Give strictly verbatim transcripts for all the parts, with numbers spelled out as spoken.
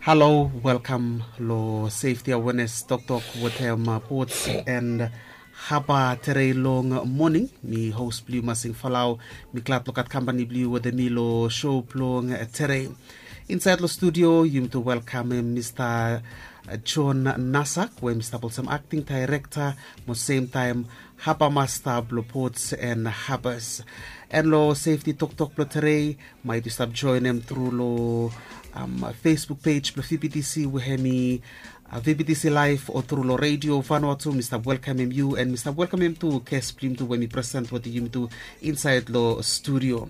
Halo, welkam long safety awareness toktok wetem Ports and Haba tere long moning. Mi host blong yu Masing Falau. Mi glad long gat kampani blong yu wetem mi long show blong tere. Insait long studio yumi tu welkamem Mista John Nasak we mi stap olsem acting director mo same time haba masta blong Ports and Habas. And long safety toktok blong tere, maet yu stap joenem tru long um, Facebook page blong V B T C we hem i uh, V B T C live o tru long radio Vanuatu. Mi stap welkamem yu and mi stap welkamem tu guest blong yumi tu we mi present wetem yumi tu insait long studio.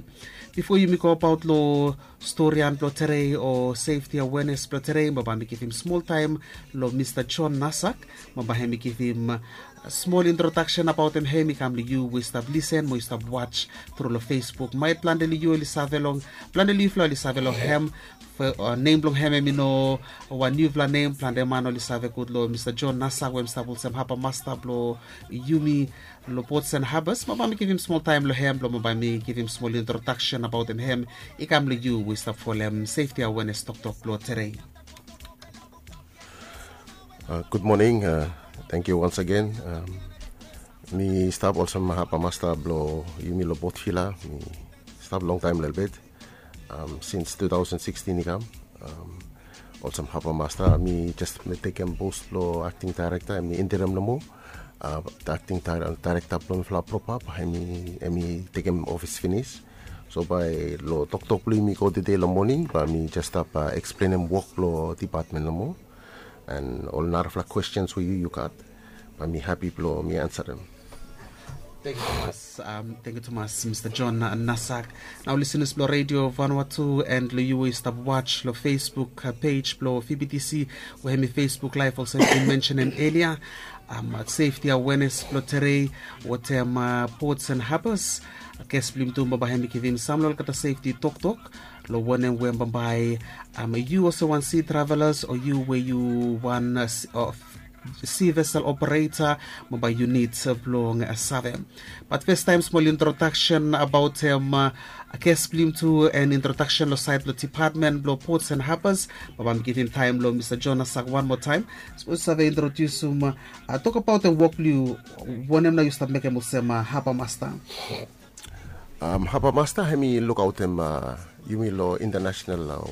Bifo yumi go abaot long storian blong tere o safety awareness blong tere, bambae mi givim smol taem long Mista John Nasak. Bambae hem i givim uh, smol introdaksen abaotem hem i kam long yu we yu stap lisen mo yu stap watch tru long Facebook. Maet plante long yu oli save long plante long yufala oli save long hem. Nem blong hem hem i no wan niufala nem. Plante man oli save gud long Mista John Nasak we hem stap olsem haba masta blong yumi long Ports and Habas. Bambae mi givim smol taem long hem blong bambae mi givim smol introdaksen abaotem hem i kam long yu we yu stap folem safety awareness toktok blong tere. Gud moning. Tangkiu wans agen. Mi stap olsem haba masta blong yumi long Port Vila. Mi stap longtaem lelebet, sins two thousand sixteen i kam. Olsem haba masta mi jes tekem pos blong akting daerekta, hem i interim nomo. Akting daerekta blong mifala propa bae hem i tekem ofis finis. So bae long toktok blong yumi go tede long moning bae mi jes stap eksplenem wok blong dipatmen nomo. And ol narafala kwestens we yu yu gat, bae mi hapi blong mi ansarem. Tangkiu tumas, Mista John Nasak. Nao lisenas blong radio Vanuatu and long yu we yu stap watch long Facebook page blong V B T C we hem i Facebook live olsem mi mensenem elia. Safety awareness blong tere wetem Ports and Habas. Ges blong yumi tu bambae hem i givim sam long olgeta safety toktok long wanem we bambae yu olsem wan sea travelers o yu we yu wan sea vessel operator, bambae yu nid blong save. Bat fes taem smol introdaksen abaotem ges blong yumi tu and introdaksen long saed blong dipatmen blong Ports and Habas. Bambae mi givim taem long Mista John Nasak wan moa taem. Sipos yu save introdiusum, tok abaotem wok blong yu. Wanem nao yu stap mekem olsem haba masta? Haba masta hem i lukaotem yumi long intanasonal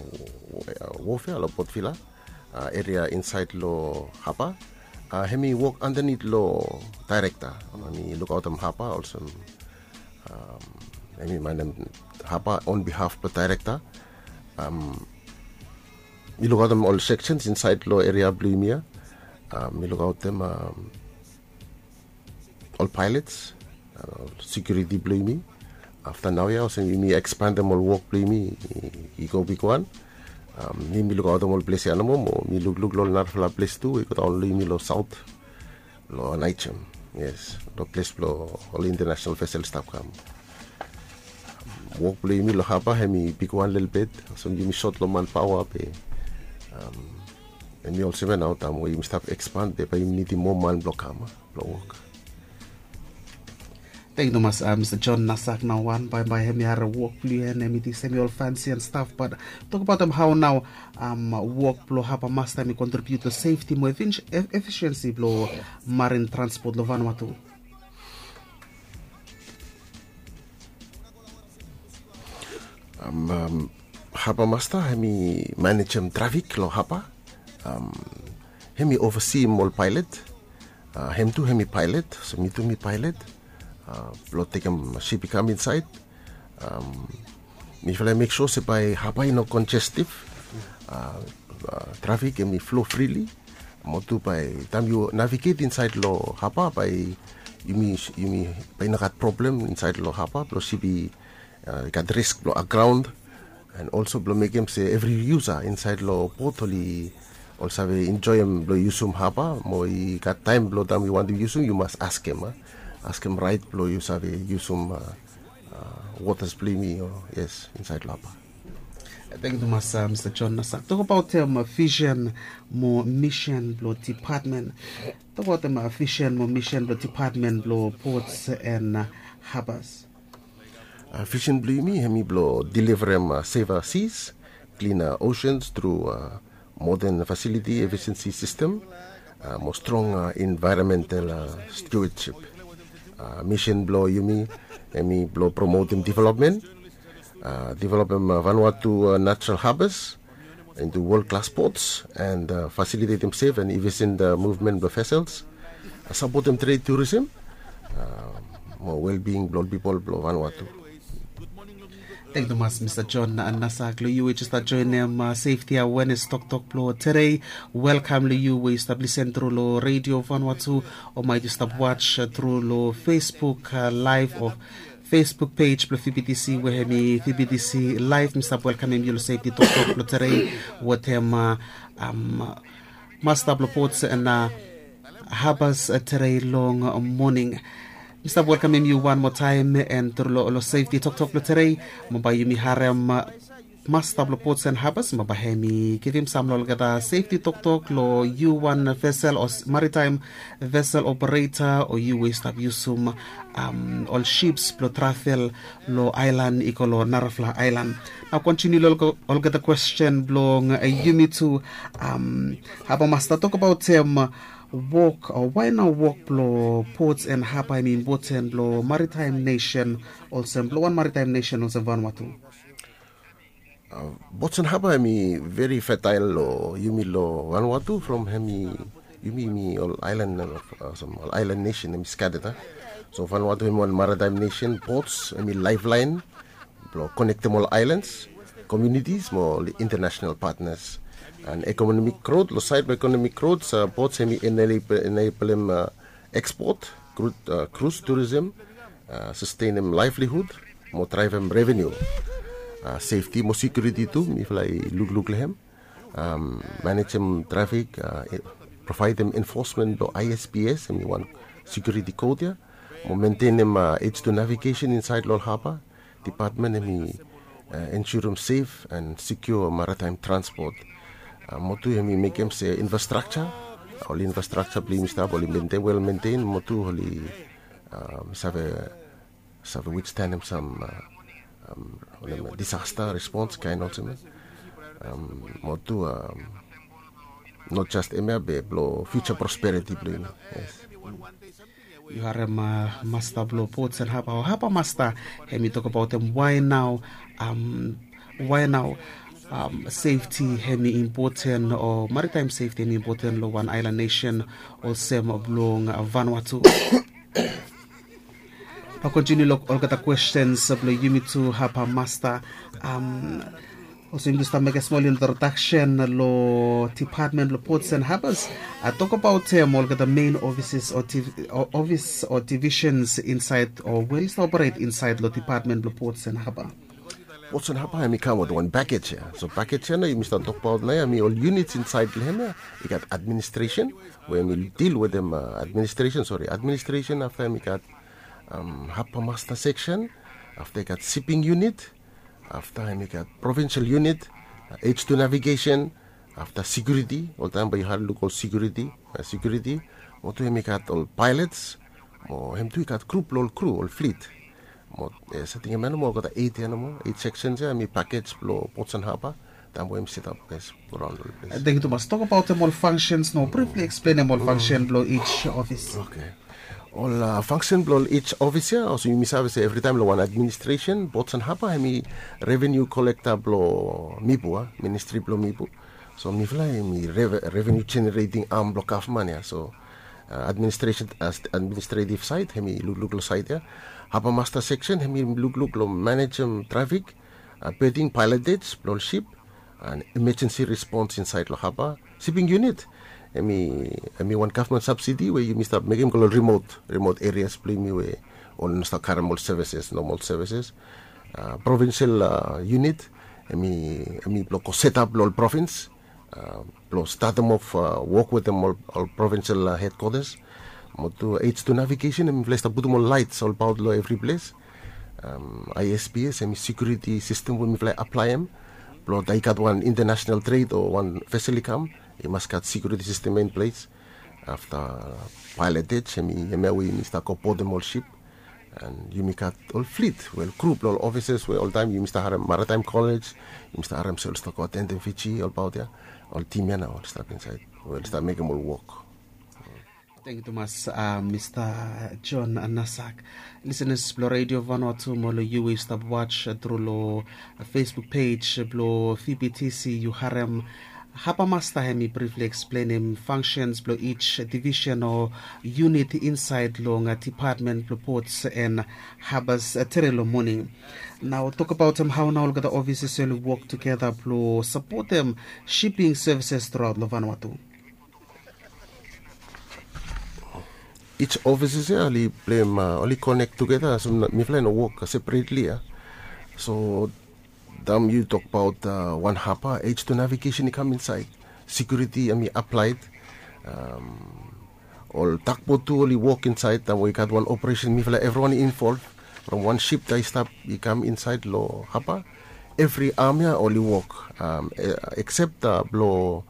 wofea long Port Vila, eria insaed long haba. Hem i wok andanit long daerekta. Hem i lukaotem haba olsem hem i manem haba on bihaf blong daerekta. Mi lukaotem ol seksens insaed long eria blong yumi ya. Mi lukaotem ol paelets, ol sekiuriti blong yumi. Afta nao ya olsem yumi ekspandem ol wok blong yumi i go bigwan. Mi mi lukaotem ol ples ya nomo mo mi lukluk long ol narafala ples tu we i godaon long yumi long saot, long Naijem. Yes, long ples blong ol intanasonal vesel i stap kam. Wok blong yumi long haba hem i bigwan lelebet. Olsem yumi sot long manpaoa be hem i olsem ya nao taem we yumi stap ekspand be bae yumi nidim moa man blong kam blong wok. Tangkiu tumas Mista John Nasak. Nao wan bae bae hem i harem wok blong yu and hem i ting se hem i ol fansi and staf, bat tok abaotem hao nao wok blong haba masta hem i kontribiut long sefti mo efisiensi blong marin transpot long Vanuatu. Haba masta hem i manejem trafik long haba. Hem i ovasiim ol paelet. Hem tu hem i paelet, so mi tu mi paelet blong tekem sip i kam insaed. Mifala i mek sua se bae haba i no konjestiv. Trafik hem i flo frili. Mo tu bae taem yu naviget insaed long haba bae yumi bae i no gat problem insaed long haba blong sip i gat risk blong agraon. And olso blong mekem se evri yusa insaed long pot oli ol save enjoem blong yusum haba mo i gat taem blong taem yu wantem yusum yu mas askem, askem raet blong yu save yusum wotas blong yumi o yes insaed long haba. Tangkiu tumas Mista John Nasak. Tokbaot vision mo misin blong dipatmen. Tokbaot vision mo misin blong dipatmen blong pots and habas. Vision blong yumi hem i blong deliverem safer seas, cleaner oceans tru modern facility efficiency system, mo strong environmental stewardship. Misin blong yumi hemi blong promotem development, developem Vanuatu natural harbors into world class ports and facilitatem safe and efficient movement blong vessels, sapotem trade tourism mo well-being blong ol pipol blong Vanuatu. Thank you tumas Mr. John Nasak. Long yu we just joinim safety awareness toktok blong today. Welcome long yu we yu stap listen through long Radio Vanuatu, o maet yu stap watch through long Facebook live o Facebook page blong VBTC we hemi VBTC live. Mi stap welkamem yu long safety toktok blong today wetem masta blong ports and habas today long moning. Mi stap welkamem yu wan moa taem and through long safety toktok blong today, mo bae yumi harem masta blong ports and habas mo bae hemi givim sam long olgeta safety toktok long yu wan vessel o maritime vessel operator o yu we yu stap yusum ol ships blong travel long aelan i go long narafala aelan. Nao kontiniu long olgeta kwesten blong yumi tu. Haba masta, tokbaotem wok o wae nao wok blong ports and haba hemi impoten long maritime nation olsem blong wan maritime nation olsem Vanuatu? Ports and haba hemi veri fetael long yumi long Vanuatu from hemi yumi hemi ol aelan, ol aelan nation hemi skatet a. So Vanuatu hemi wan maritime nation, ports hemi laeflaen blong konektem ol aelans, komiunitis mo ol international patnas. And ekonomik grot, long saed blong ekonomik grot ports hemi eneblem ekspot, krus turism, sastenem laevlihud mo draevem revenu. Sefti mo sekiuriti tu mifala i lukluk long hem. Manejem trafik, provaedem enfosmen blong ISPS hemi wan sekiuriti kot ya, mo mentenem H two navigation insaed long ol haba. Dipatmen hemi ensurem sef and sekiua maritaem transpot. Mo tu hemi mekem se infrastrakja, ol infrastrakja blong yumi stap oli mentenem, wel mentenem mo tu oli save save withstandem sam disasta respons kaen olsem ya. Mo tu not just hemia be blong future prosperity blong yumi. Yu harem masta blong ports and haba o haba masta hemi tokbaotem wae nao wae nao sefti hemi impoten o maritaem sefti hemi impoten long wan aelan nesen olsem blong Vanuatu. Bae kontiniu long olgeta kwestens blong yumi tu haba masta. Olsem yumi tu stap mekem smol introdaksen long dipatmen blong ports and habas. Tokbaotem olgeta mein ofises o ofis o divisens insaed o we oli stap operet insaed long dipatmen blong ports and haba. Ports and haba hemi kam wetem wan pakej ya. So pakej ya nao yumi stap tokbaot nao ya hemi ol units insaed long hem ya. I gat administresen we hemi dil wetem administresen, sori, administresen, afta hemi gat haba masta seksen, afta i gat siping unit, afta hemi gat provinsial unit, H two navigesen, afta sekiuriti, oltaem bae yu harem luk ol sekiuriti, sekiuriti. Mo tu hemi gat ol paelots, mo hem tu i gat grup blong ol kru, ol flit. Mo sating hemia nomo olgeta eit ya nomo, eit seksens ya hemi pakej blong ports and haba. Taem we hemi setap, yes, go raon long ol ples. Thank you tumas. Tokbaotem ol functions nao brifli eksplenem ol function blong each office. Ol function blong ol each office ya, olsem yumi save se evritaem long wan administresen, ports and haba hemi revenu kolekta blong MIPU, ministri blong MIPU. So mifala hemi revenu jenereting am blong gavman ya. So administresen administretiv saed hemi lukluk long saed ya. Haba masta seksen hemi lukluk long manejem trafik, beding, paelotej blong ol sip, and emejensi respons insaed long haba. Siping unit hemi wan gavman sabsidi we yumi stap mekem go long rimot rimot erias blong yumi we oli no stap karem ol sevises, nomal sevises. Provinsial unit hemi blong go setap long ol provins blong statem of wok wetem ol provinsial hedkwatas. Mo tu H two navigesen hemifala i stap putum ol laets olbaot long evri ples. ISPS hemi sekiuriti sistem we mifala i aplaem blong taem i gat wan intanasenal tred o wan vesel i kam, i mas gat sekiuriti sistem ya in ples. Afta paelotej hemi hemia we yumi stap go bodem ol sip. And yumi gat ol flit we ol grup long ol offices we oltaim yumi stap harem Maritime College, yumi stap harem se ol stap go atendem Fiji olbaot ya. Ol tim ya nao ol stap insaed we ol stap mekem ol wok. Thank you tumas, uh, Mr. John Nasak. Listeners, blo Radio Vanuatu mo lo yu we stap watch, uh, through lo, uh, Facebook page, uh, blo V B T C, yu harem Haba Masta hem i briefly explainim functions blo each division o unit inside long, uh, department blo ports and harbors, uh, tere lo morning. Now talk about, um, how now olgeta offices will work together blo support them shipping services throughout lo Vanuatu. Each offices ya oli blem, uh, oli connect together, so mifala i no work separately ya. So taem yu tokbaot, uh, wan haba, H two navigation i kam insaed, security hem i applied, um, ol takbot tu oli wok insaed, taem we i gat wan operation mifala evriwan i involve. From wan ship taem i stap i kam insaed lo haba, evri am ya oli wok, um, e- except, uh, blo,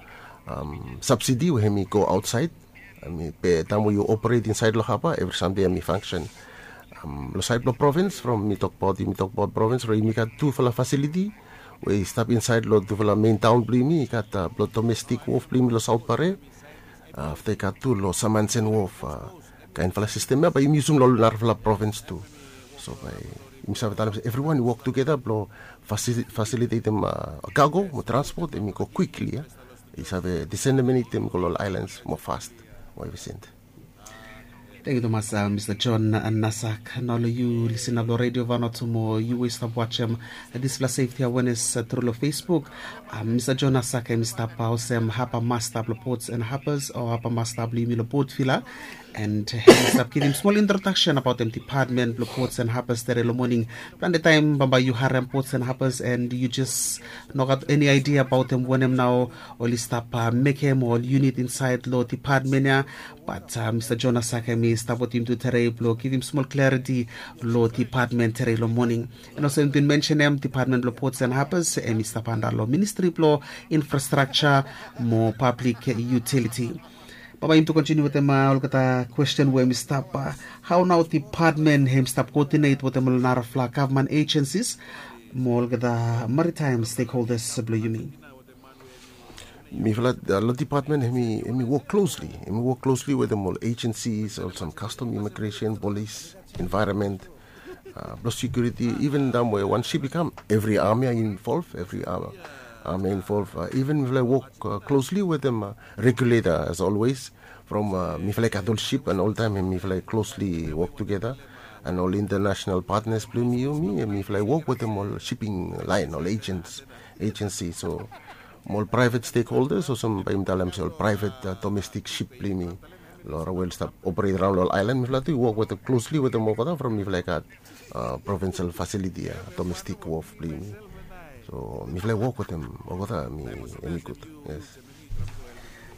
um, subsidi we hem i go aotsaed. Be taem we yu operate insaed lo haba, evri samting hem i fangsen. Um, lo saed blo provins, from mi tokbaot, yumi tokbaot provins, from yumi gat tufala fasiliti we i stap insaed lo tufala mein taon blo yumi, i gat, uh, blo domestik wof blo yumi lo Saot Pare. Uh, afta i gat tu lo Samansen wof, uh, kaenfala sistem ya bae yumi yusum lo narafala provins tu. So bae yumi save talem se evriwan i wok tugeta blo fasilitetem, uh, kago mo transpot hem i go kwikli ya. I save diseminatem go lo ol aelans mo fast mo evriting. Thank you tumas, uh, Mr. John, uh, Nasak. Nao lo yu listener blo Radio Vanuatu mo yu we stap watchem, uh, dispela safety awareness, uh, through lo Facebook. Uh, Mr. John Nasak hem i stap, uh, olsem haba masta blo ports and harbors o haba masta blo yumi lo Port Vila. And hem i stap givim smol introduction abaotem department blo ports and harbors tere lo morning. Plante taem bambae yu harem ports and harbors and yu jes no gat eni idea abaotem wanem nao oli stap, uh, mekem ol unit insaed lo department ya. Bat, uh, Mr. John Nasak hem i stap wetem yumi tu tere blo givim smol clarity lo department tere lo morning. And also hem i bin mensenem department blo ports and harbors hem i stap anda lo ministry blo infrastructure mo public utility. Bambae yumi tu kontiniu wetem, uh, olgeta kwesten we hem i stap, uh, hao nao department hem i stap koodinate wetem ol narafala gavman agencies mo olgeta maritime stakeholders blo yumi. Mifala, uh, lo department hem i, hem i wok klosli, hem i wok klosli wetem ol agencies, olsem custom, immigration, polis, environment, uh, blo security, even taem we wan ship i kam, evri am ya i involve, evri am, am ya i involve, uh, even mifala i wok, uh, klosli wetem, uh, regulator as always. From, uh, mifala i gat ol ship and oltaem mifala i klosli wok tugeta. And ol international partners blo yumi, mifala i wok wetem ol shipping line, ol agents, agency. So mo ol private stakeholders olsem bae yumi talem se ol private, uh, domestik ship blo yumi lo rael we oli stap operate raon lo ol aelan, mifala tu i wok wetem klosli wetem olgeta from mifala i gat, uh, provincial facility ya, domestik wof blo yumi. So mifala i wok wetem olgeta hem i gud. Yes.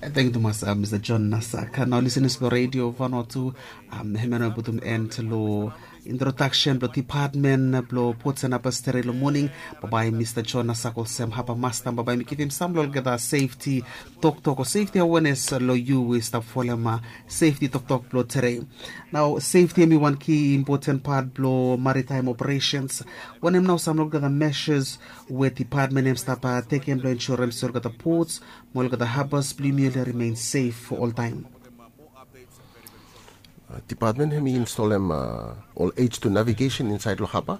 Thank you tumas, uh, Mr. John Nasak. Nao listeners blo Radio Vanuatu, um, hemia nao i putum end lo introduction blo department blo ports and harbors tere lo morning. Bambae Mr. John Nasak olsem haba masta, bambae hem i givim sam lo olgeta safety toktok o safety awareness lo yu we stap folem, uh, safety toktok blo tere. Nao safety hem i wan key important part blo maritime operations. Wanem nao sam lo olgeta measures we department hem i stap, uh, tekem blo ensurem se olgeta ports mo olgeta harbors blo yumi oli remain safe oltaem? Uh, department hem i installem, uh, ol H two navigation insaed lo haba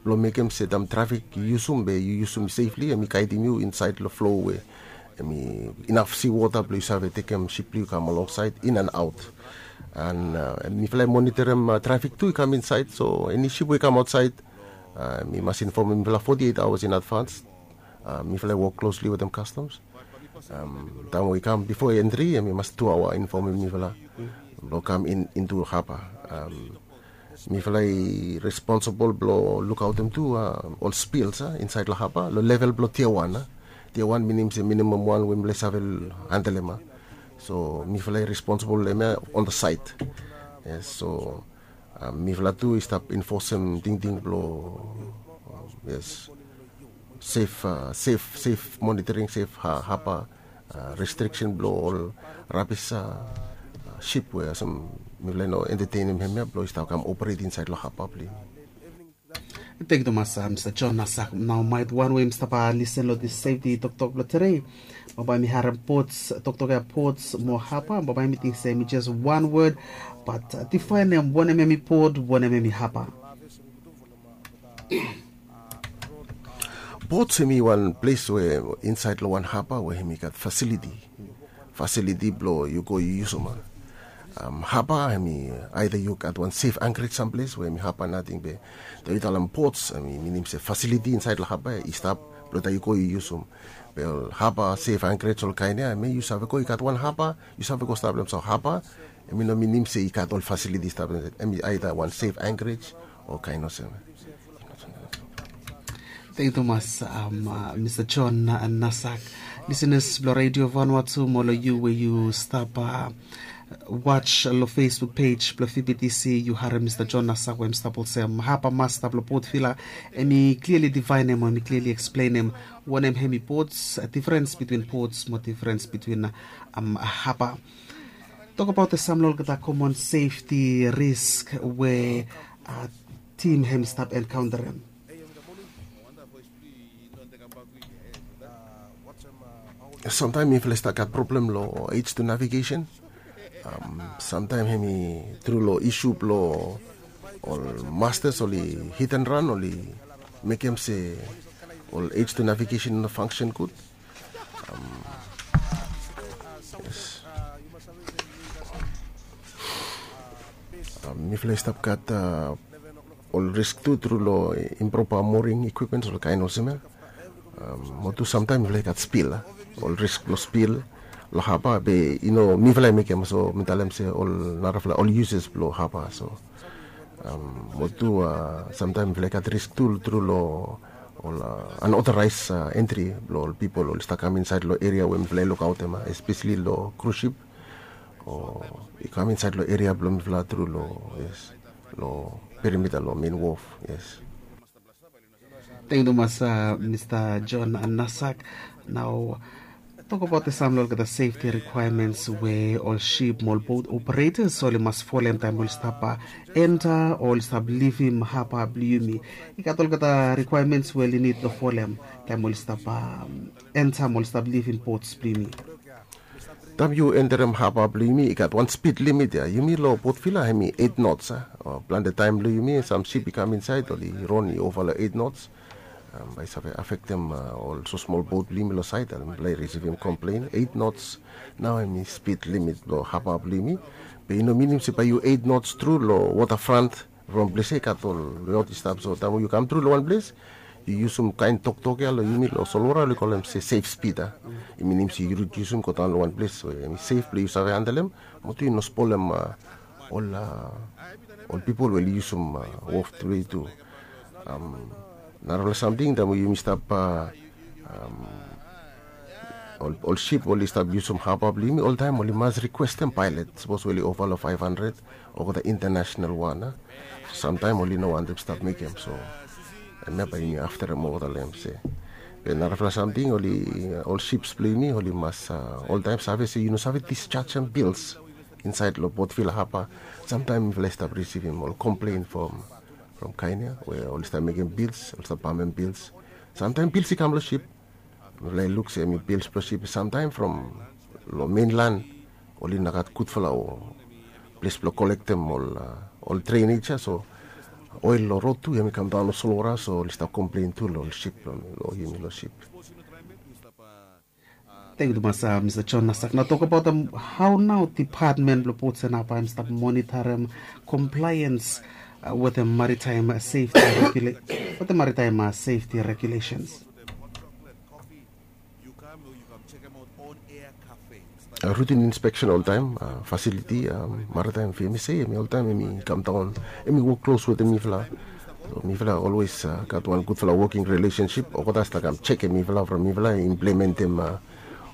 blo mekem se taem trafik yu yusum be yu yusum safely, hem i gaedim yu insaed lo flow we hem i inaf seawater blo yu save tekem ship blo yu kam alongside, in and out. And, uh, mifala i monitorim, uh, trafik tu i kam insaed, so eni ship we i kam aotsaed, uh, mi mas infomem mifala forty-eight hours in advance. Uh, mifala i wok klosli wetem customs. Um, taem we i kam bifo entri, mi mas tu aoa infomem mifala blo kam in, into haba. Um, mifala i responsibol blo lukaotem tu, uh, ol spills, uh, insaed lo haba lo level blo tier wan, uh. Tier wan minim se minimum wan we mifala i save handelem, uh. So mifala i responsibol lo hemia on the side. Yes, so, um, mifala tu i stap infosem tingting blo, um, yes, safe, uh, safe, safe monitoring, safe ha- haba, uh, restriction blo ol rabis, uh, uh, ship we olsem Mifala i no entetenim hemia blong i stap kam operate insaed long haba blong yumi. Thank you tumas, uh, Mr. John Nasak. Nao maet wan we yumi stap, uh, listen long this safety toktok blong today. Bambae mi harem ports, toktok ya ports mo haba. Bambae mi ting se mi just one word, but, uh, define em, wanem hemi port, wanem hemi haba. Ports hemi wan ples we insaed long wan haba we hemi gat facility. Facility blong yu go yu yusum. Um, haba hemi either yu gat wan safe anchorage samples we hemi haba nating be taem yu talem ports hemi minim se facility insaed long haba i stap blong taem yu go yu yusum. Be ol haba safe anchorage ol kaen ya hemi yu save go i gat wan haba yu save go stap long haba. Hemi no minim se i gat ol facility stap long hemi either wan safe anchorage o kaen olsem. Thank you tumas, um, uh, Mr. John, uh, Nasak. Listeners blong Radio Vanuatu mo long yu we yu stap, uh, watch long Facebook page blong V B T C, yu harem Mr. John Nasak we hemi stap olsem haba mas stap long Port Vila. Hemi clearly define em o hemi clearly explain em wanem hemi ports, uh, difference between ports mo difference between, uh, um, haba. Tokbaot sam long olgeta common safety risk we, uh, team hemi stap encounterem. Samtaem mifala i stap gat problem long H two navigation. Um, samtaem hemi tru long issue blong ol masters oli hit and run oli mekem se ol H two navigation i no function gud. Um, yes. Um, mifala i stap gat, uh, ol risk tu tru long improper mooring equipments ol kaen olsem ya. Um, mo tu samtaem mifala i gat spill, uh, ol risk blong spill long haba be i no mifala i mekem so mi talem se ol narafala ol users blong haba so. Um, mo tu, uh, samtaem mifala i gat risk tu tru long ol, uh, unauthorized, uh, entry blong ol pipol oli stap kam insaed long eria we mifala i lukaotem, uh, especially long cruise ship o i kam insaed long eria blong mifala tru long, yes, long perimeter long main wharf, yes. Thank you tumas, uh, Mr. John Nasak. Nao tokbaot sam long olgeta safety requirements we ol ship mo ol boat operators oli mas folem taem oli stap, uh, enter o oli stap livim haba blong yumi. I gat olgeta requirements we oli nid long folem taem oli stap, um, enter mo oli stap livim ports blong yumi. Taem yu enterem haba blong yumi i gat wan speed limit ya. Yumi long Port Vila hemi eight knots, a. O, plante taem blong yumi sam ship i kam insaed oli ron i ova long eight knots. Um, bae i save afektem, uh, ol so smol boat blong yumi long saed, uh, mifala i risivim komplen eight knots. Nao hemi speed limit blong haba blong yumi. Be i no minim se bae yu eight knots tru long waterfront from ples ya i gat ol yaot i stap. So taem we yu kam tru long wan ples yu yusum kaen toktok ya long yumi long solwota oli kolem se safe speed, a. I minim se yu yusum godaon long wan ples we hemi safe blong yu save handelem mo tu yu no spolem, uh, ol, uh, ol pipol we oli yusum, uh, wharf tru tu. Um, narafala samting taem we yumi stap, uh, um, ol, ol ship oli stap yusum haba blong yumi oltaem oli mas rikwestem paelet sapos we oli ova long five hundred olgeta international wan, a. Samtaem oli no wantem stap mekem so hemia bae yumi afterem olgeta long hem se. Be narafala samting oli, uh, ol ships blong yumi oli mas, uh, oltaem save se yu no save disjajem bills insaed long Port Vila haba. Samtaem mifala i stap risivim ol komplen from, from kaen ya we oli stap mekem bills, oli stap pamem bills. Samtaem bills i kam long ship. Mifala i luk se hemi bills blong ship samtaem from long mainland oli no gat gudfala o ples blong kolektem ol, uh, ol drainage ya so oel long rod tu hemi kamdaon long solwota so oli stap komplen tu long ol ship blong yumi long ship. Thank you tumas, uh, Mr. John Nasak. Nao tokbaot, um, hao nao department blong ports and haba hemi stap monitorem compliance, uh, wetem maritime, uh, safety regula-, wetem maritime, uh, safety regulations. Uh, routine inspection oltaem, uh, facility, um, maritime V M S A hemi oltaem hemi kamdaon, hemi wok klos wetem mifala. So mifala always, uh, gat wan gudfala working relationship. Olgeta i stap kam jekem mifala from mifala i implementem, uh,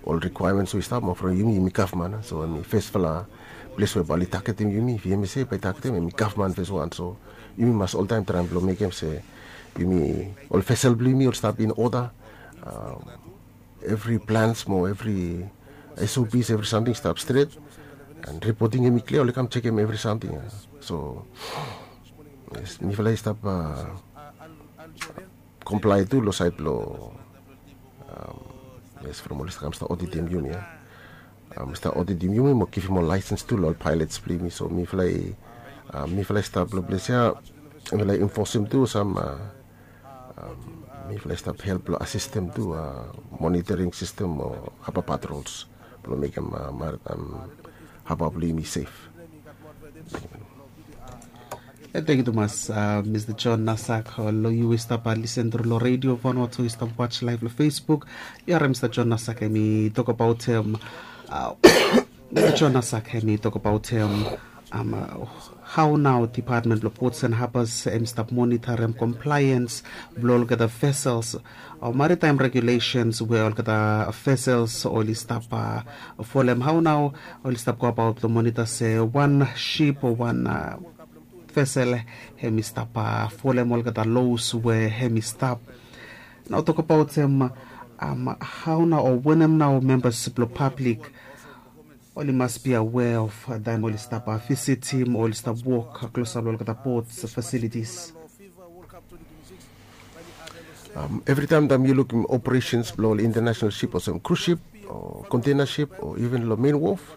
ol requirements we i stap mo from yumi, yumi gavman. So hemi fesfala ples we bae oli tagetem yumi, V M S A bae i tagetem, hemi gavman feswan. So yumi mas oltaem traem blong mekem se yumi, ol vesel blong yumi oli stap in order. Um, evri plans mo evri S O Ps, evri samting stap stret. And reporting hemi klia, oli kam sekem evri samting. So mifala i stap komplae tu long sait blong yes, from oli kam stap oditim yumi ya. Stap oditim yumi mo givim ol laisens tu long ol pailots blong yumi. So mifala i mifala i stap long ples ya. Mifala i enfosim tu sam mifala i stap help long asistem tu monitoring sistem o haba patrols blong mekem marit haba blong yumi sef. Thank you tumas, Mr John Nasak. Long yu i stap listen tru long redio Vanuatu, i stap watch live long Facebook. Yu harim Mr John Nasak em i tok abaot em. Mr John Nasak em i tok abaot em. Hau nao department blong ports and harbors em i stap monitorim compliance blong olgeta vessels o maritime regulations we olgeta vessels oli stap folem? Hau nao oli stap go abaot blong monita se wan ship o wan vessel em i stap folem olgeta laws we em i stap? Nao tok abaot em, hau nao o wanem nao membas blong pablik oli mas be aware of taem oli stap visitim o oli stap wok klosap long olgeta ports facilities? Evritaem taem yu lukim operations blong ol international ship olsem cruise ship o container ship o even long main wharf,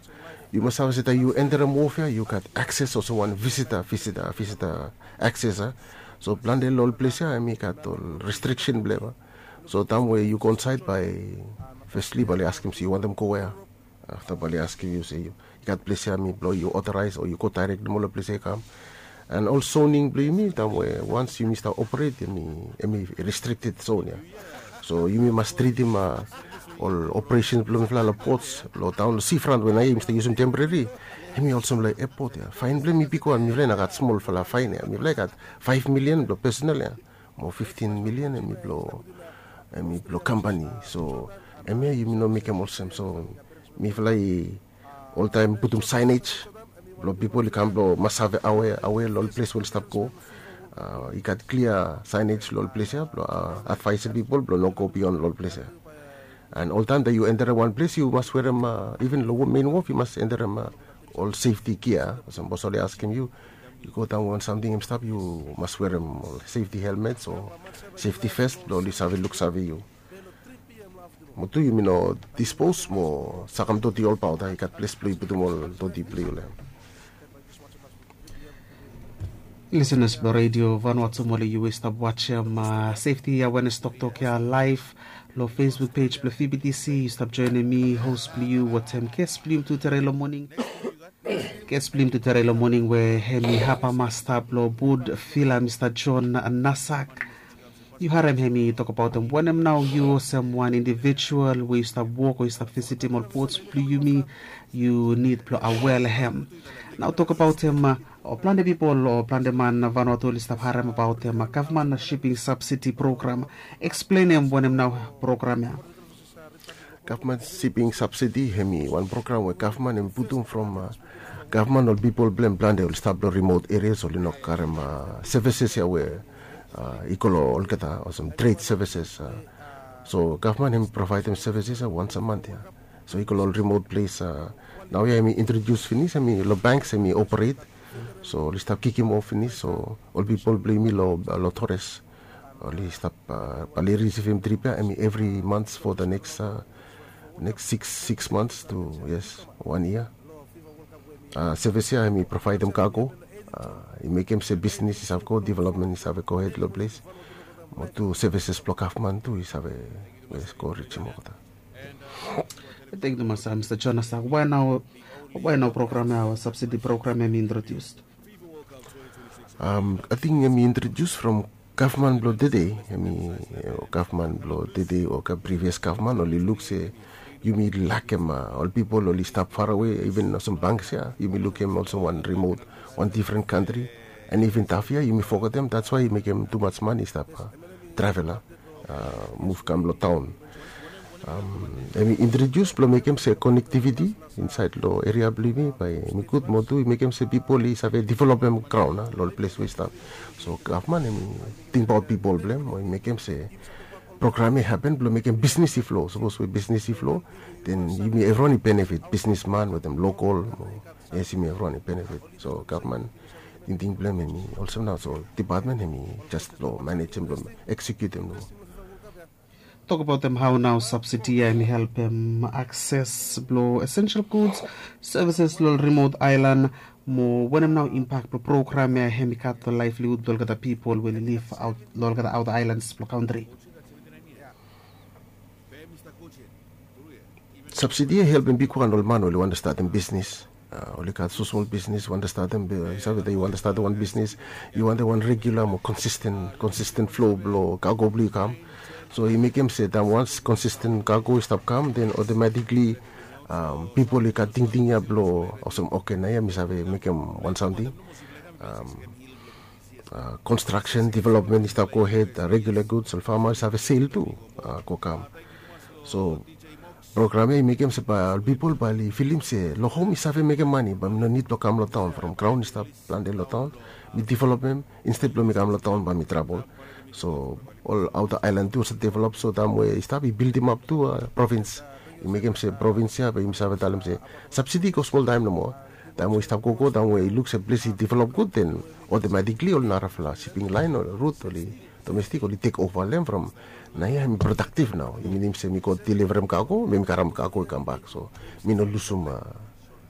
yu mas save se taem yu enterem wharf ya yu gat akses olsem wan visita visita visita akses a. So plante long ol ples ya em i gat ol restriksen blong em a. So taem we yu go insaed bae fesli bae oli askem se yu wantem go wea. Afta bae oli askem yu se yu i gat ples ya mi blong yu otoraes o yu go daerek nomo long ples ya i kam. And ol soning blong yumi taem we wans yumi stap operet em i restrikted zon ya. So yumi mas tritim ol operesen blong mifala long pots long taon long sifrant we naoia yumi stap yusim temporari. Em i olsem long epot ya faen blong em i bigo an mifala i no gat smolfala faen ya mifala i gat faef milian blong pesonel ya mo fiftin milian em i blong em i blong kampani. So em ya yumi no mekem olsem so mifala i oltaem putum saenej blong pipol i kam blong mas save awe awe long ol ples we oli stap go. I gat klia saenej long ol ples ya blong advaesim pipol blong no go bion long ol ples ya. And oltaem taem yu enterem wan ples yu mas werem even long mein wof yu mas enterem ol sefti gia olsem bos oli askem yu yu go daon wan samting em stap yu mas werem ol sefti helmets o sefti vest blong oli save luksave yu. Mo tu yumi no dispos mo sakamdoti olbaot a i gat ples blong yu putum ol doti blong yu long em. Lisenas blong redio Vanuatu moli yu i stap wajem sefti awenes toktok ya laef long Facebook pej blong V B T C. Yu stap joenem mi hos blong yu wetem ges blong yumi tu tere long moning. Ges blong yumi tu tere long moning we hem i hapa masta blong bud fila Mista John Nasak. Yu harem hem i tokbaot wanem nao yu olsem wan indivijual we yu stap wok o yu stap visitim ol pots blong yumi, yu nid blong awea long hem. Nao tokbaot hem, o plante pipol o plante man Vanuatu oli stap harem abaot hem gavman siping sabsidi program. Eksplenem wanem nao program ya. Gavman siping sabsidi hem i wan program we gavman hem i putum from gavman ol pipol blong hem plante oli stap long rimot erias oli no karem sevises ya we i go long olgeta olsem tred sevises. So gavman hem i provaedem sevises ya wans a mant ya. So i go long ol rimot ples. Naoia hem i introdius finis hem i long banks hem i operet. So oli stap kikim of finis so ol pipol blong yumi long tores oli stap bae oli risivim trip ya em i evri mans fo the next next six six mans tu yes wan yia. Sevis ya em i provaedem kago i mekem se bisnis i save go developmen i save gohed long ples. Mo tu sevises blong gavman tu i save yes go rijim olgeta. Thank you tumas Mista Jonas. Wae nao program ya o sabsidi program em i introdius? Ating em i introdius from gavman blong tede em i gavman blong tede o previas gavman oli luk se yumi lakem ol pipol oli stap farawe even olsem bangs ya yumi lukim olsem wan rimot wan difren kantri. And even tafia yumi fogetem dats wae i mekem tumas man i stap travel a muv kam long taon. Em i introdius blong mekem se konektiviti insaed long eria blong yumi bae em i gud mo tu i mekem se pipol i save developem graon a long ol ples we i stap. So gavman em i tingbaot pipol blong em mo i mekem se program ya i hapen blong mekem bisnis i flo. Sapos we bisnis i flo, den yumi evriwan i benefit, bisnisman wetem lokol. Yes, yumi evriwan i benefit. So gavman tingting blong hem hem i olsem nao, so dipatmen hem i jes blong manejem blong eksekutem nao. Tokbaotem hao nao sabsidi ya hem i helpem akses blong esensel guds, sevises long ol rimot aelan, mo wanem nao impak blong program ya hem i gat long laevlihud blong olgeta pipol we oli liv long olgeta aota aelans blong kantri. Sabsidi ya i helpem bigwan ol man oli wantem statem bisnis. Oli gat smosmol bisnis, wantem statem, yu save, yu wantem statem wan bisnis, yu wantem wan regula mo konsisten, konsisten flo blong kago blong yu i kam. So i mekem se taem wans konsisten kago i stap kam, den otomatikli pipol i gat tingting ya blong olsem, oke, naoia mi save mekem wan samting. Konstraksen, developmen i stap gohed, regula guds, ol fama i save sel tu, go kam. So program ya i mekem se bae ol pipol bae oli filim se long hom mi save mekem mane, bae mi no nid blong kam long taon. From graon i stap plante long taon, mi developem, insted blong mi kam long taon bae mi trabol. So ol aota aelan tu olsem develop, so taem we i stap i bildimap tu provins. I mekem se provins ya bae yumi save talem se sabsidi i go smol taem nomo. Taem we i stap gogo, taem we i luk se ples i develop gud, den otomatikli ol narafala siping laen o rut oli, domestik oli tek ova long hem. From naoia hem i prodaktiv nao, i minim se mi go delivarem kago, mi mi karem kago i kambak. So mi no lusum,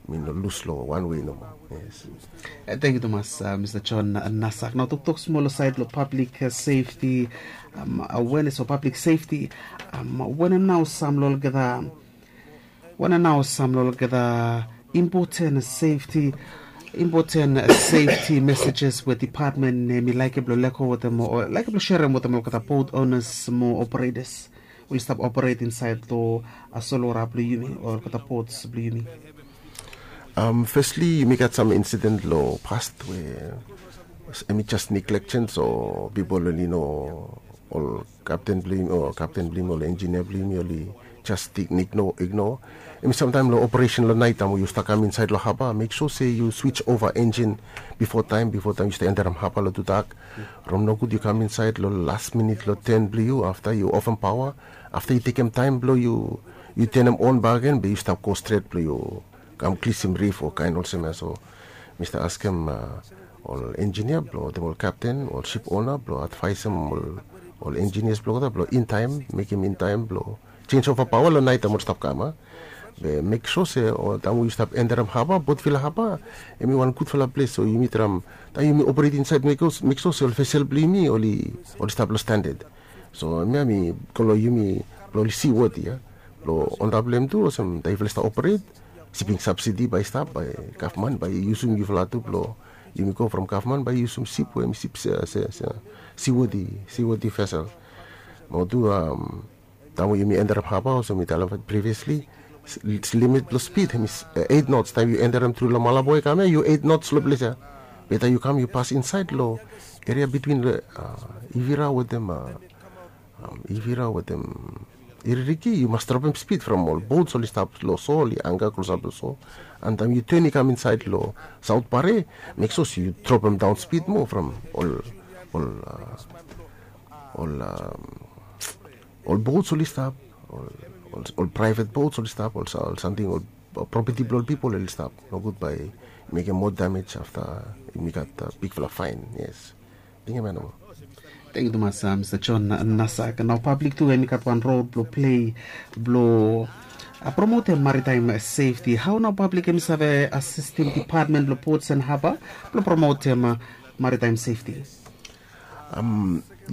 mi no lus long wan wei nomo. Yes. Tangkiu tumas, Mista John Nasak. Nao toktok smol long saed long pablik sefti, awenes o pablik sefti, wanem nao sam long olgeta, wanem nao sam long olgeta impoten sefti, impoten sefti mesejes we dipatmen hem i laekem blong lego wetem o laekem blong serem wetem olgeta bot onas mo operetas we oli stap operet insaed long solwota blong yumi o olgeta bots blong yumi? Fesli, yumi gat sam insiden long pas we hem i jes negleksen, so pipol oli no, ol kapten blong yumi o kapten blong yumi, ol enjinia blong yumi oli jes igno, igno. Hem i samtaem long operesen long naet, taem we yu stap kam insaed long haba, mek sua se yu swis ova enjin bifo taem, bifo taem yu stap enterem haba long tudak. From nogud yu kam insaed long las minit long ten blong yu, afta yu ofem paoa, afta yu tekem taem blong yu, yu tenem on bakegen, be yu stap go stret blong yu kam klisim rif o kaen olsem ya. So mi stap askem ol enjinia blong wetem ol kapten, ol sip ona blong advaesem ol, ol enjinias blong olgeta blong in taem, mekem in taem blong jenj ova paoa long naet taem oli stap kam, a. Be mek sua se taem we yu stap enterem haba, Port Vila haba, hem i wan gudfala ples, so yumi traem, taem yumi operet insaed, mek sua se ol vesel blong yumi oli, oli stap long standad. So hemia mi go long yumi blong oli siwodi ya. Blong antap long hem tu olsem taem yufala stap operet, siping sabsidi bae i stap, bae gavman bae i yusum yufala tu blong yumi go from gavman bae i yusum sip we hem i sip se, se, se, siwodi, siwodi vesel. Mo tu taem we yumi enterem haba olsem mi talem previasli, limit blong spid hem i eit nots. Taem yu enterem tru long Malabo i kam ya, yu eit nots long ples ya. Be taem yu kam yu pas insaed long eria bitwin Ivira wetem, Ivira wetem Iririki, yu mas dropem spid from ol bots oli stap long so, oli anga klosap long so. An taem yu ten i kam insaed long Saot Pare, mek sua se yu dropem daon spid moa from ol, ol, ol ol bots oli stap, ol, ol, ol praevet bots oli stap, ol sa, ol samting, ol propeti blong ol pipol oli stap. Nogud bae i mekem moa damej afta yumi gat bigfala faen. Yes. Tingim ya nomo. Tangkiu tumas, Mista John Nasak. Nao pablik tu hem i gat wan rol blong plei blong promotem maritaem sefti. Hao nao pablik hem i save asistem dipatmen blong bots an haba blong promotem maritaem sefti?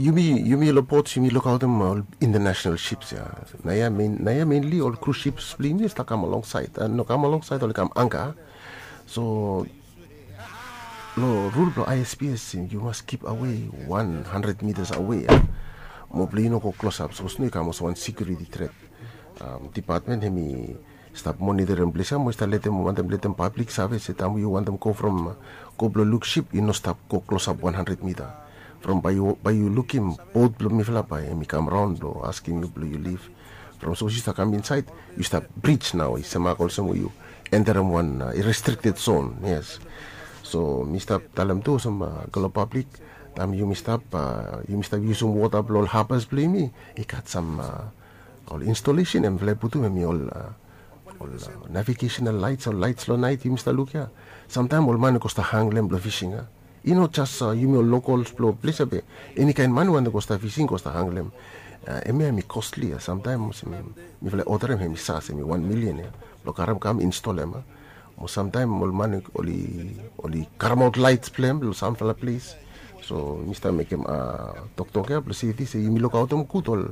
Yumi, yumi long bots yumi lukaotem ol internasenal sips ya. Naoia, naoia menli ol krus sips blong yumi i stap kam alongsaed, no kam alongsaed, oli kam anga. So long rul blong I S P S, yu mas kip awe wan handred mitas awe ya, mo blong yu no go klosap, sapos no i kam olsem wan sekiuriti tret. Dipatmen hem i stap monitorim ples ya mo i stap letem, wantem letem pablik save se taem yu wantem go from, go blong luk sip, yu no stap go klosap wan handred mita. From bae yu, bae yu lukim bot blong mifala bae hem i kam raon blong askem yu blong yu lif. From sapos yu stap kam insaed, yu stap brij nao, i semak olsem we yu enterem wan restrikted zon. Yes. So mi stap talem tu olsem, go long pablik, Taem yumi stap yumi stap yusum wota blong ol habas blong yumi, i gat sam ol instalesin em fala i putum em i ol ol navigesenal laits, ol laits long nait yumi stap luk ya. Samtaem ol man i go stap hanglem blong fising ya. I no jas yumi ol lokols blong ples ya be, eni kaen man we i go stap fising go stap hanglem. Em ya em i kosli ya. Samtaem mifala i odarem em i sas em i wan milian ya blong karem kam instolem ya. Mo samtaem ol man oli oli karemaot laits blong em long samfala ples. So mi stap mekem toktok ya blong seti se yumi lukaotem gud ol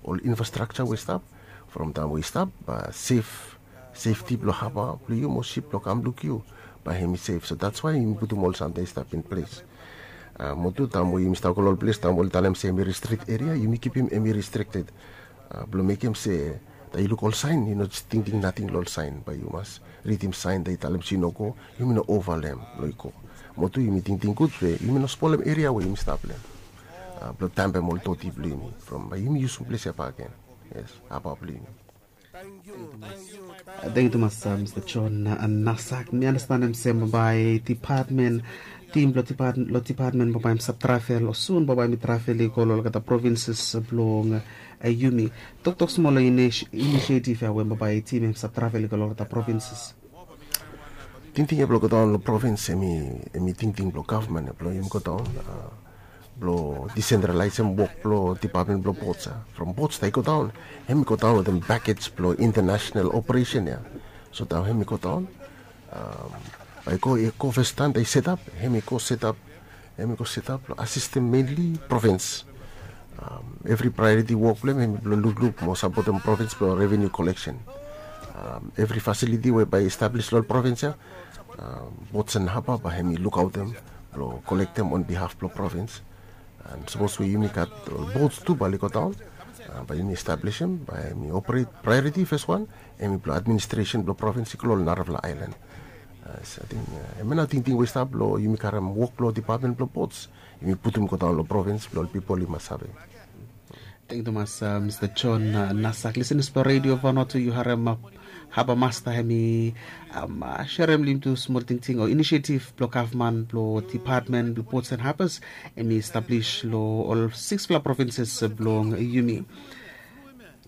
ol infrastrakja we i stap. From taem we i stap ba sef sefti blong haba blong yu mo sip blong kam luk yu, ba hem i sef. So dats wae yumi putum ol samting i stap in ples. Mo tu taem we yumi stap go long ol ples taem we oli talem se hem i ristrik eria, yumi kipim hem i ristrikted. Blong mekem se taem yu luk ol saen yu no tingting nating long ol saen, ba yu mas ridim saen taem i talem se yu no go, yumi no ova long hem blong i go. Mo tu yumi tingting gud we yumi no spolem eria we yumi stap long hem blong tampem ol doti blong yumi from ba yumi yusum ples ya bakegen. Yes, haba blong yumi. Tangkiu tumas, Mista John Nasak. Mi anastenem se bambae dipatmen, tim blong dipatmen bambae hem save travel o sun bambae hem i travel i go long olgeta provinses blong yumi. Toktok smol long inisietif ya we bambae tim hem save travel i go long olgeta provinses. Tingting ya blong godaon long provins em i tingting blong gavman ya blong yumi godaon blong disentralaesem wok blong dipatmen blong bots ya. From bots taem i godaon, hem i godaon wetem bakej blong intanasenal operesen ya. So taem hem i godaon, bae i go i go fes taem taem i setap, hem i go setap hem i go setap blong asistem menli provins. Evri praeoriti wok blong hem hem i blong lukluk mo sapotem provins blong reveniu koleksen. Evri fasiliti we bae i establis long ol provins ya, bots en haba bae hem i lukaotem blong kolektem on bihaf blong provins. An sapos we yumi gat ol bots tu bae oli godaon, bae yumi establisim bae hem i operet, praeoriti fes wan hem i blong administresen blong provins i go long ol narafala aelan. Ating em ya nao tingting we i stap long yumi karem wok blong dipatmen blong bots, yumi putum godaon long provins blong ol pipol i mas save. Tangkiu tumas, Mista John Nasak. Lisenas blong redio Vanuatu, yu harem haba masta hem i serem long yumi tu smol tingting o inisietif blong gavman blong dipatmen blong bots en habas, hem i establis long ol siksfala provinses blong yumi.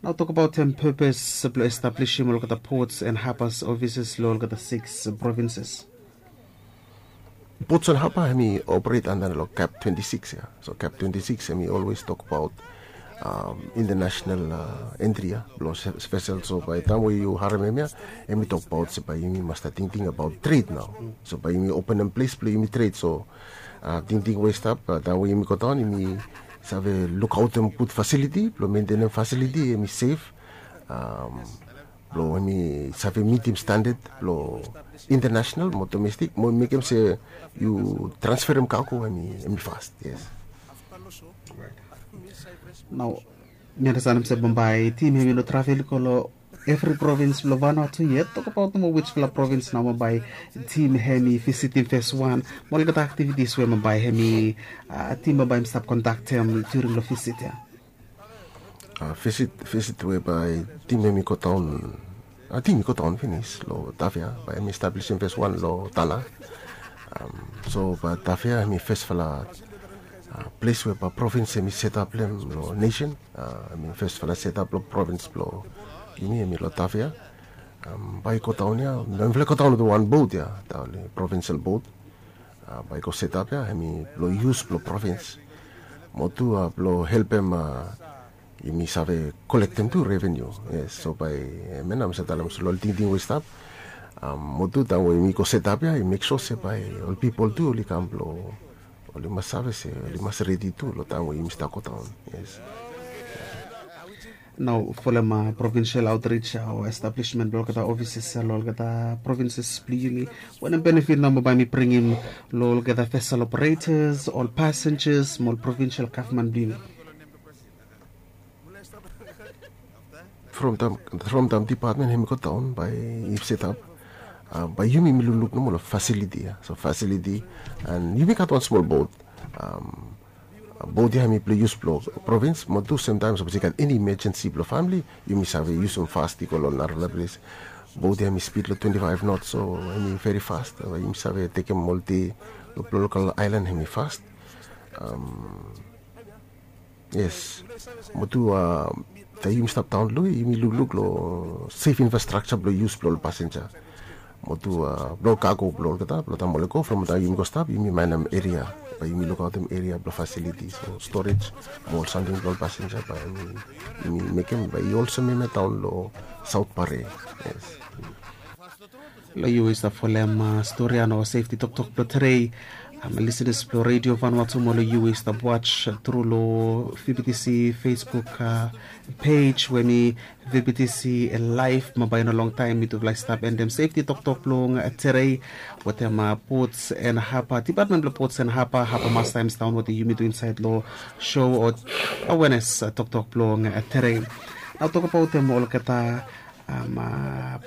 Nao tokbaotem pepes blong establisim olgeta bots en habas ofises long olgeta siks provinses. Bots en haba hem i operet anda long kap twenti siks ya. So kap twenti siks hem i olwes tokbaot intanasenal entri ya blong spesel. So bae taem we yu harem hem ya, hem i tokbaot se bae yumi mas stap tingting abaot tred nao. So bae yumi openem ples blong yumi tred. So tingting we i stap taem we yumi godaon yumi save lukaotem gud fasiliti blong mentenem fasiliti hem i sef, blong hem i save mitim standad blong intanasenal mo domestik mo mekem se yu transferem kago hem i fast. Yes. Nao mi anastenem se bambae tim hem i no travel i go long evri provins blong Vanuatu yet. Tokbaot mo wisfala provins nao bambae tim hem i visitim fes wan, mo olgeta aktivitis we bambae hem i tim bambae hem i stap kondaktem during long visit ya. Visit visit we bae tim hem i godaon, ating i godaon finis long Tafea bae hem i establisim fes wan long Tala. So bae Tafea hem i fesfala ples we bae provins hem i setap long hem long nesen. Hem i fesfala setap long provins blong yumi hem i long Tafea. Bae i godaon ya, mifala i godaon wetem wan bot ya, taem oli provinsel bot. Bae i go setap ya hem i blong yus blong provins. Mo tu blong helpem yumi save kolektem tu reveniu. Yes, so bae hem ya nao mi save talem olsem long ol tingting we i stap. Mo tu taem we yumi go setap ya i mek sua se bae ol pipol tu oli kam blong oli mas save se oli mas redi tu long taem we yumi stap godaon. Yes. Nao folem provinsel aotrij o establismen blong olgeta ofises ya long olgeta provinses blong yumi, wanem benefit nao bae hem i bringim long olgeta vesel operetas, ol pasenjas mo ol provinsel gavman blong yumi? From taem dipatmen hem i godaon bae i setap, bae yumi mi lukluk nomo long fasiliti ya. So fasiliti, an yumi gat wan smol bot. Bot ya hem i blong yus blong provins mo tu semtaem sapos i gat eni imajensi blong famili yumi save yusum fast i go long narafala ples. Bot ya hem i spid long twenti faef not, so hem i veri fast. Yumi save tekem ol de long lokal aelan hem i fast. Yes. Mo tu, taem yumi stap daon lo, yumi lukluk lo safe infrastructure blo yus blo ol pasenja. Mo tu, blo kago blo olgeta, blo taem oli go, from taem yumi go stap, yumi manem eria. Bae yumi lukaotem eria blo facilities o storage mo ol samting blo ol pasenja, bae yumi mekem bae i olsem hemia daon lo South Pare. Yes. Lo yu i stap folem stori ia no sefti toktok blo tedei. Lisenas blo redio Vanuatu mo lo yu i stap waj tru lo V B T C Facebook page we mi V B T C live. Mo bae i no longtaem mitufala i stap endem sefti toktok blong tedei wetem Ports and Harbour, Department blo Ports and Harbour, Harbour Master hem i stap wetem yumi tu insaed lo show o awareness toktok blong tedei. Nao tokbaot hem olgeta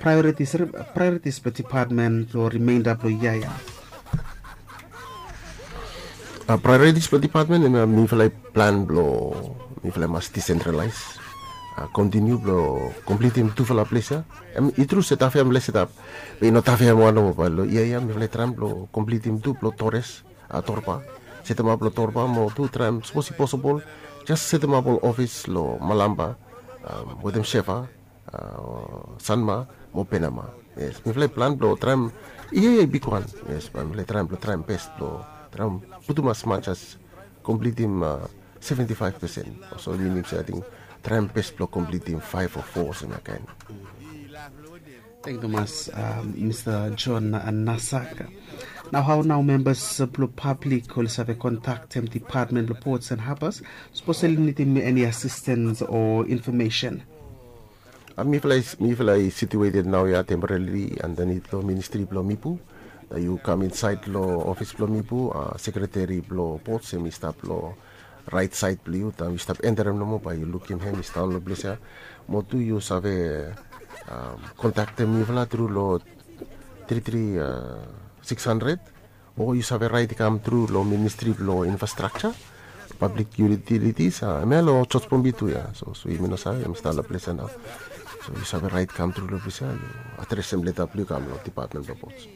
priorities, priorities blo department blo remainder blo yia ia. Priorities blo department hemia mifala i plan blo mifala i mas decentralize, kontiniu blo komplitim tufala ples ia. Hem i tru se Tafea hem i setap, be i no Tafea hem wan nomo, bae lo yia ia mifala i traem blo komplitim tu blo Torres, Torba. Setemap lo Torba mo tu traem sapos i posibol jes setemap ol ofis lo Malampa wetem Shefa, Sanma mo Penama. Yes, mifala i plan blo traem, ia ia i bigwan. Yes, bae mifala i traem blo traem bes blo traem putum as much as komplitim seventy five percent. So minim se ating traem bes blo komplitim faef o fo olsem ia kaen. Tangkiu tumas Mista John Nasak. Nao hao nao membas blo pablik oli save kontaktem department blo Ports and Harbours sapos oli nidim eni asistens o infomesen? Mifala i situated naoia temporarily andanit lo ministri blo Mipu. Nao yu kam insaed lo ofis blo Mipu, sekreteri blo Ports hem i stap lo raet saed blo yu. Taem yu stap enterem nomo bae yu lukim hem i stap lo ples ia. Mo tu yu save kontaktem mifala tru lo tri tri siks handred, o yu save raet i kam tru lo ministri blo infrastructure, public utilities, hemia lo George Pombi tu ia. So yumi no save hem i stap lo ples ia nao. So yu save raet i kam tru lo ples ia, yu adresem leta blo yu kam lo department blo Ports.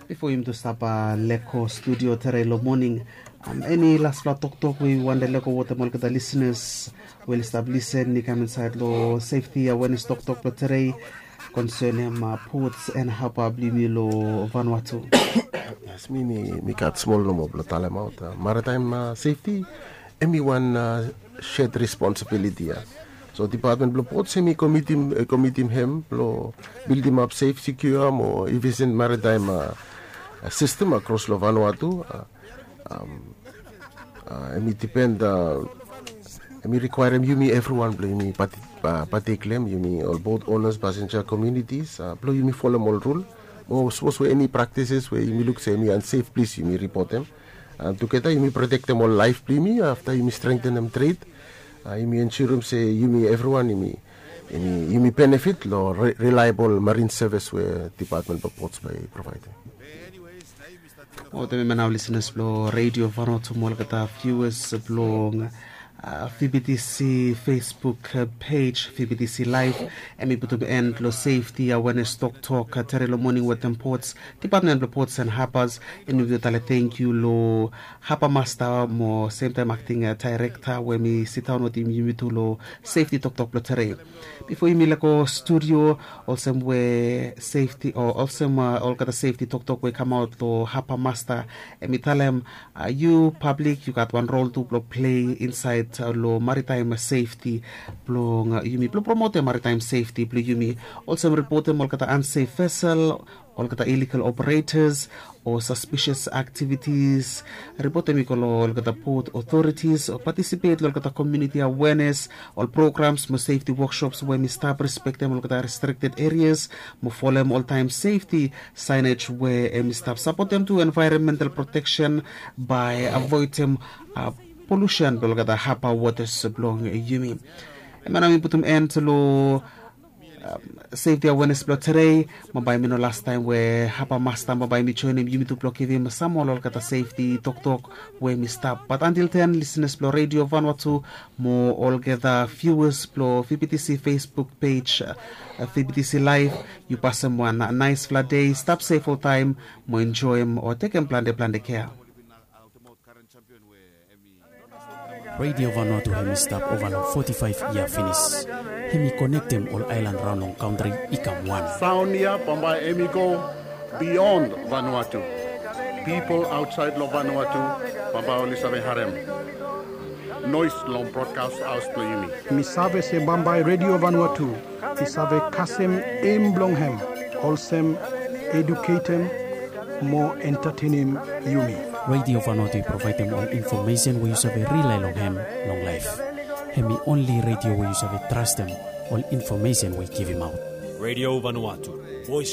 Bifo yumi tu stap lego studio tedei lo moning, eni lasfala toktok we yu wantem lego wetem olgeta lisenas we oli stap lisen i kam insaed lo sefti awareness toktok blo tedei konsenem Ports and Harbour blo yumi lo Vanuatu? Yes, mi mi gat smol nomo blo talemaot, maritaem sefti hem i wan shed responsibiliti ia. So department blo Ports hem i komitim hem blo bildimap sef, sekiua mo efisien maritaem sistem akros lo Vanuatu. Hem i dipen, hem i rikwaerem yumi evriwan blo yumi patek lo hem, yumi ol boat owners, pasenja, komiunitis, blo yumi folem ol rul. Mo sapos we eni praktises we yumi luk se hem i ansef, plis yumi ripotem. Tugeta yumi protektem ol laef blo yumi, afta yumi strengtenem tred. Yumi ensurem se yumi evriwan yumi benefit lo rilaebol marin sevis we department blo Ports bae i provaedem. Wetem hemia nao lisenas blo redio Vanuatu mo olgeta viuas blong V B T C Facebook page, V B T C Live. Hem i putum en lo sefti awareness toktok tedei lo moning wetem Ports, department blo Ports and Harbours. Hem i putum tale tangkiu lo Harbour Master mo semtaem acting director we hem i sidaon wetem yumi tu lo sefti toktok blo tedei. Bifo yumi lego studio, olsem we sefti o olsem olgeta sefti toktok we i kamaot lo Harbour Master, hem i talem yu pablik yu gat wan rol tu blo plei insaed lo maritaem sefti blong yumi, blo promotem maritaem sefti blo yumi. Olsem ripotem olgeta ansef vesel, olgeta illegal operators o suspicious activities. Ripotem i go lo olgeta port authorities o patisipet lo olgeta komuniti awareness, ol programs mo sefti wokshops we hem i stap, respektem olgeta restrikted areas mo folem oltaem sefti saenej we hem i stap, sapotem tu envaeronmental proteksen bae avoedem polusen blo olgeta haba wotas blong yumi. Hemia nao mi putum en lo sefti awareness blo tedei. Mo bae hem i no lastaem we Harbour Master mo bae hem i joenem yumi tu blo givim sam moa lo olgeta sefti toktok we hem i stap. Bat antil ten, lisenas blo redio Vanuatu mo olgeta viuas blo V B T C Facebook page, V B T C Live, yu pasem wan naesfala dei. Stap sef oltaem mo enjoem o tekem plante plante kea. Radio Vanuatu hem i stap ova long foti faef yia finis. Hem i konektem ol aelan raon long kantri i kam wan. Saon ya bambae hem i go bion Vanuatu. Pipol aotsaed long Vanuatu bambae oli save harem noes long brodkas haos blong yumi. Mi save se bambae Radio Vanuatu i save kasem em blong hem olsem eduketem mo entatenem yumi. Radio Vanuatu i provaedem ol infomesen we yu save rilae long hem long laef. Hem i onli radio we yu save trastem ol infomesen we i givimaot. Radio Vanuatu, voes